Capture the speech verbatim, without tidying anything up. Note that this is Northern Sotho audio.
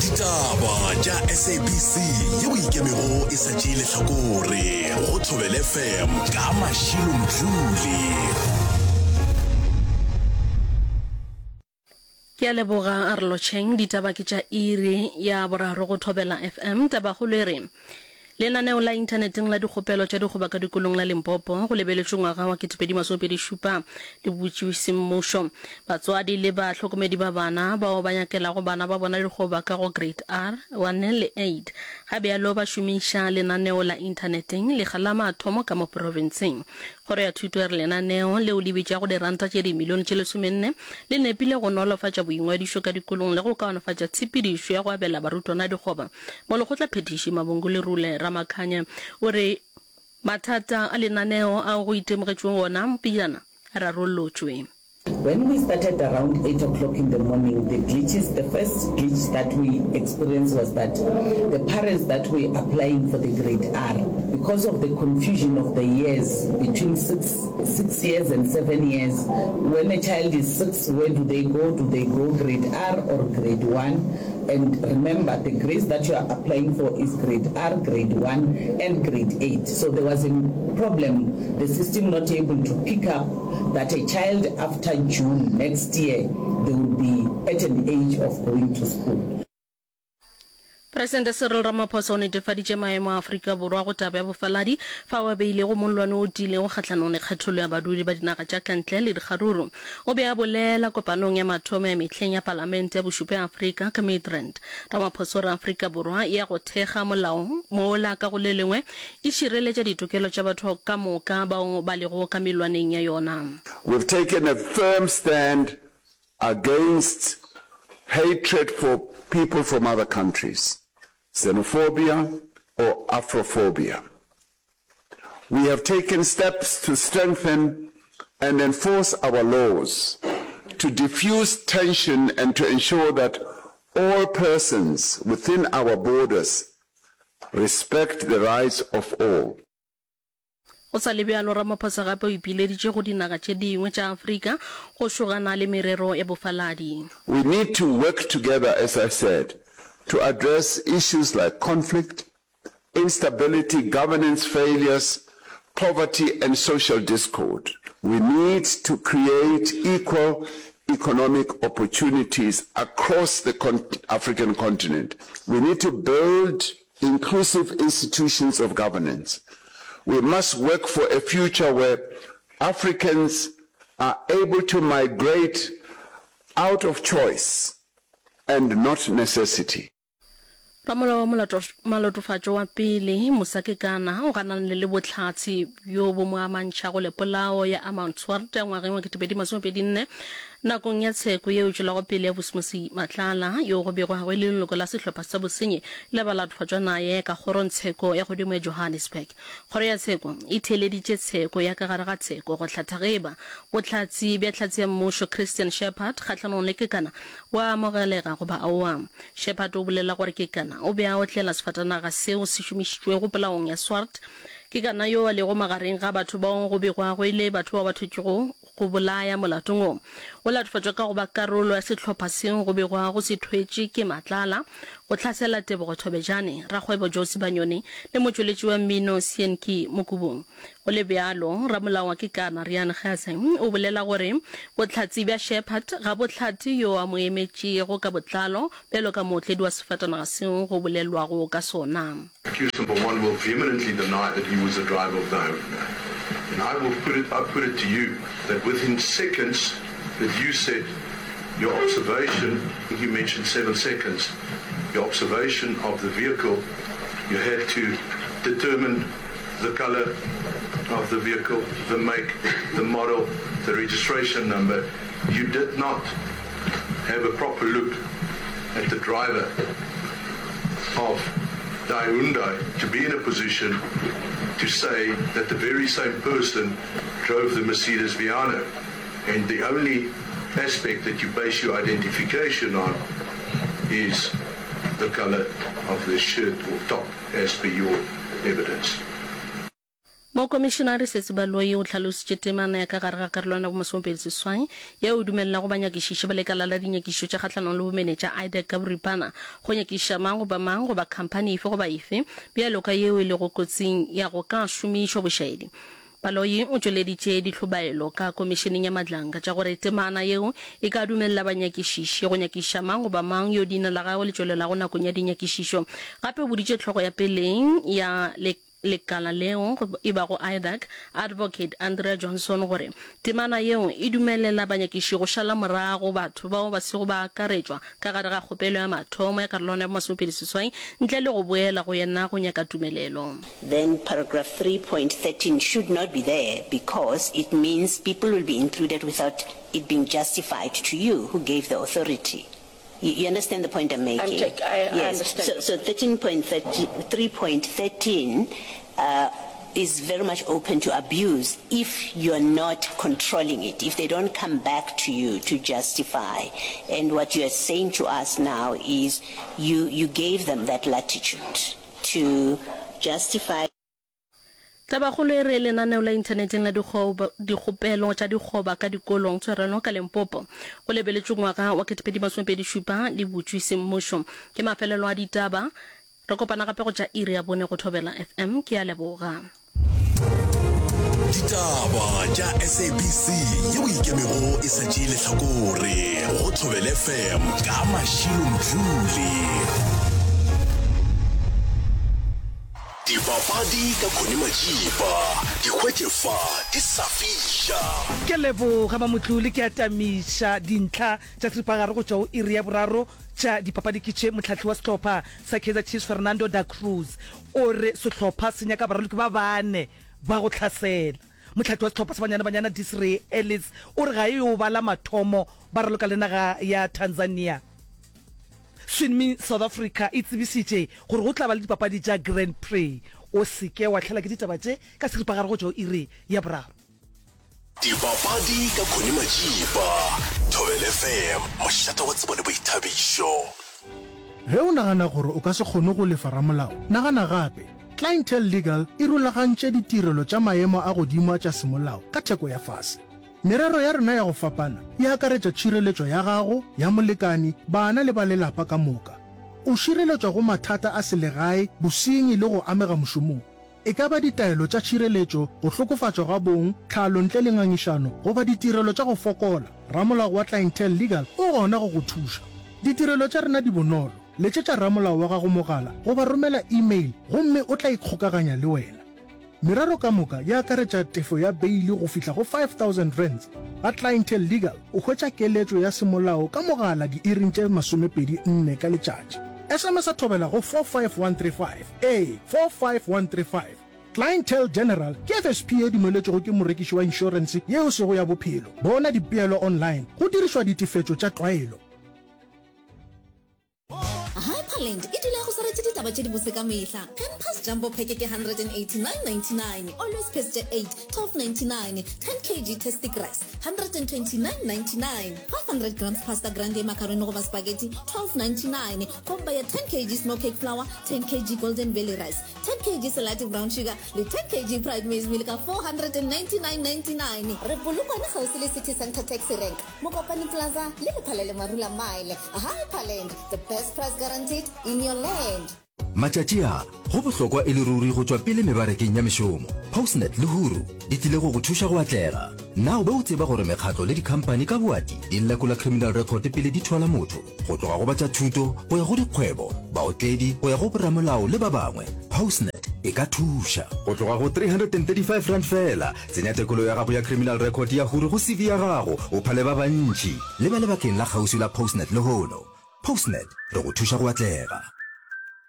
Ditaba tša S A B C yeo ikemego e sa tšee lehlakore go Thobela F M ka Mashilo Mdluli. Ke a leboga, a re lotšheng. Ditaba ke tša iri ya boraro go Thobela F M. Tabakgolo e re lenaneo la inthaneteng la dikgopelo tša dikgoba ka dikolong la Limpopo go lebeletšwe ngwaga wa ketepedi masomepedi šupa le butšwe semmušo. Batswadi le bahlokomedi ba bana bao ba nyakelago bana ba bona dikgoba ka go grade R one le eight ga bjalo ba šomiša lenaneo la inthaneteng lekga la mathomo ka mo profenseng. Kgoro ya thuto e re lenaneo leo le bitšago diranta tše dimilione tše lesomenne le nepile go nolofatša boingwadišo ka dikolong le go kaonafatša tshepedišo ya go abela barutwana dikgoba. Molekgotla phethiši Mabongo Lerule Ramakhanya o re mathata a lenaneo ao go itemogetšweng ona pejana a rarollotšwe. When we started around eight o'clock in the morning, the glitches, the first glitch that we experienced was that the parents that were applying for the grade R, because of the confusion of the years between six, six years and seven years, when a child is six, where do they go? Do they go grade R or grade one? And remember, the grades that you are applying for is grade R, grade one, and grade eight. So there was a problem, the system not able to pick up that a child after June next year, they will be at an age of going to school. Presidente Cyril Ramaphosa o netefaditše maemo a Afrika Borwa go taba ya bofaladi fao a beilego mollwane o tiilego kgahlanong le kgethollo ya badudi ba dinaga tša ka ntle le dikgaruru. O be a bolela kopanong ya mathomo ya mehleng ya Palamente ya bošupa ya Afrika ka Midrand. Ramaphosa o re Afrika Borwa ya go thekga molao mola ka go le lengwe e šireletša ditokelo tša batho ka moka bao ba lego ka mellwaneng ya yona. We've taken a firm stand against hatred for people from other countries, xenophobia or Afrophobia. We have taken steps to strengthen and enforce our laws, to diffuse tension and to ensure that all persons within our borders respect the rights of all. Go sa le bjalo, Ramaphosa gape o ipileditše go dinaga tše dingwe tša Afrika go šogana le merero ya bofaladi. We need to work together, as I said, to address issues like conflict, instability, governance failures, poverty and social discord. We need to create equal economic opportunities across the con African continent. We need to build inclusive institutions of governance. We must work for a future where Africans are able to migrate out of choice and not necessity. Ramolao wa molotofatšo wa pele, Musa Kekana, o ganane le bohlatse bjo bo mo amantšhago le polao ya Armand Swart ya ngwageng wa ketepedi masomepedi nne nakong ya tsheko yeo e tšwelago pele ya Vusimusi Matlala, yo go begwago e le leloko la sehlopha sa bosenyi le balatofatšwa naye ka kgorongtsheko ya godimo ya Johannesburg. Kgoro ya tsheko e theeleditše tsheko ya ka gare ga tsheko go hlatha ge eba bohlatse bja hlatse ya mmušo Christian Shepherd kgahlanong le Kekana bo a amogelega goba aowa. Shepherd o bolela gore Kekana o be a otlela sefatanaga seo se šomišitšwego polaong ya Swart. Kekana yo a lego magareng ga batho bao go begwago e le batho bao ba thwetšwego go bolaya molatong wo, o latofatšwa ka go ba karolo ya sehlopha seo go begwago se thwetše ke Matlala go hlasela Tebogo Thobejane, rakgwebo Joe Sibanyoni le motšweletši wa mmino Seanki Mokubung. Go le bjalo, ramolao wa Kekana, Riaan Gase, o bolela gore bohlatse bja Shepherd ga bo hlathe yo a mo emetšego ka botlalo bjalo ka mootledi wa sefatanaga seo go bolelwago ka sona. Accused number one will vehemently deny that he was the driver of the Hyundai. And I will put it, I put it to you that within seconds that you said your observation, I think you mentioned seven seconds, your observation of the vehicle, you had to determine the color of the vehicle, the make, the model, the registration number. You did not have a proper look at the driver of the Hyundai to be in a position to say that the very same person drove the Mercedes Viano. And the only aspect that you base your identification on is the color of the shirt or top as per your evidence. Mokomišinare Sesi Baloyi o hlalositše temana ya ka gare ga karolwana ya bomasomepedi seswai yeo e dumelelago banyakišiši ba lekala la dinyakišišo tša kgahlanong le bomenetša IDAC ka boripana go nyakišiša mang goba mang goba khamphani efe goba efe bjalo ka yeo e lego kotsing ya go ka šomišwa bošaedi. Baloyi o tšweleditše dihlobaelo ka Komišeneng ya Madlanga tša gore temana yeo e ka dumelela banyakišiši go nyakišiša mang goba mang yo leina la gagwe le tšwelelago nakong ya dinyakišišo. Gape o boditše hlogo ya peleng ya lekala leo e bago IDAC, Advocate Andrea Johnson gore temana yeo e dumelela banyakiši go šala morago batho bao ba sego ba akaretšwa ka gare ga kgopelo ya mathomo ya karolwana ya bomasomepedi seswai ntle le go boela go yena go nyaka tumelelo. Then paragraph three point thirteen should not be there because it means people will be included without it being justified to you who gave the authority. You, you understand the point I'm making? I'm take, I, I yes. understand. So, so thirteen point thirty, three point thirteen, uh, is very much open to abuse if you're not controlling it, if they don't come back to you to justify. And what you are saying to us now is you, you gave them that latitude to justify. Tabakgolo e re lenaneo la inthaneteng la dikgopelo tša dikgoba ka dikolong tshwarelo ka Limpopo go lebeletšwe ngwaga wa ketepedi masomepedi šupa le butšwe semmušo. Ke mafelelo a ditaba. Re kopana gape go tša iri ya bone go Thobela F M. Ke a leboga. Ditaba tša S A B C yeo e ikemego e sa tšee lehlakore go Thobela F M ka Mashilo Mdluli. Dipapadi ka Connie Majiba, di hwetše fa di sa fiša. Ke leboga Mamotlole, ke atamiša dintlha tša seripagare go tšwa go iri ya boraro tša dipapadi ke tše. Mohlahli wa sehlopha sa Kaizer Chiefs Fernando da Cruz o re sehlopha se nyaka baraloki ba bane ba go hlasela. Mohlahli wa sehlopha sa Banyana Banyana Desiree Ellis o re ga e yo ba la mathomo ba raloka le naga ya Tanzania. Swimming South Africa e tsebišitše gore go tla ba le dipapadi tša Grand Prix. O se ke wa hlela ke ditaba tše ka seripagare go tšwa go iri ya boraro. Dipapadi ka Connie Majiba, Thobela F M, mošate wa tsebo le boithabišo. Ge o nagana gore o ka se kgone go lefa ramolao, nagana gape. Clientele Legal e rulagantše ditirelo tša maemo a godimo tša semolao ka theko ya fase. Merero ya rena ya go fapana e akaretša tšhireletšo ya gago, ya molekani, bana le ba lelapa ka moka. O šireletšwa go mathata a selegae, bosenyi le go amega mošomong. E ka ba ditaelo tša tšhireletšo, go hlokofatšwa ga bong, tlhalo ntle le ngangišano goba ditirelo tša go fokola, ramolao wa Clientele Legal o gona go go thuša. Ditirelo tša rena di bonolo. Letšetša ramolao wa gago mogala goba romela email gomme o tla ikgokaganya le wena. Merero ka moka e akaretša tefo ya beili go fihla go five thousand rands. Ga Clientele Legal o hwetša keletšo ya semolao ka mogala diiring tše masomepedi nne ka letšatši. S M S a thobela go four five one three five, ee, four five one three five. Clientele General ke F S P ye dumeletšwego ke morekiši wa inšorense yeo sego ya bophelo. Bona dipeelo online go dirišwa ditefetšo tša tlwaelo. Hyperland e dula e go swaretše ditaba tše dibose ka mehla. Pampers Jumbo Pack ke hundred and eighty-nine ninety-nine, Always Pass tše eight, twelve ninety-nine, ten kg Tastic Rice, hundred and twenty-nine ninety-nine, five hundred grams Pasta Grande macaroni goba spaghetti, twelve ninety-nine, komba ya ten kg Snow Cake Flour, ten kg Golden Valley Rice, ten kg Selati Brown Sugar le ten kg Pride Maize Meal ka four hundred and ninety-nine ninety-nine. Re Polokwane kgauswi le City Centre Taxi Rank, Mokopane Plaza le Lephalele Marula Mile. Hyperland, the best price guaranteed in your land. Matšatši a, go bohlokwa e le ruri go tšwa pele mebarakeng ya mešomo. Postnet le Huru di tlile go go thuša go atlega. Na o be o tseba gore mekgatlo le dikhamphani ka boati di lekola criminal record pele di thwala motho? Go tloga go ba tša thuto go ya go dikgwebo, baotledi go ya go boramolao le ba bangwe, Postnet e ka thuša. Go tloga go three hundred and thirty-five rand feela, tsenya tekolo ya gago ya criminal record ya Huru go C V ya gago, o phale ba bantši. Leba lebakeng la kgauswi la Postnet lehono. Postnet, re go thuša go atlega.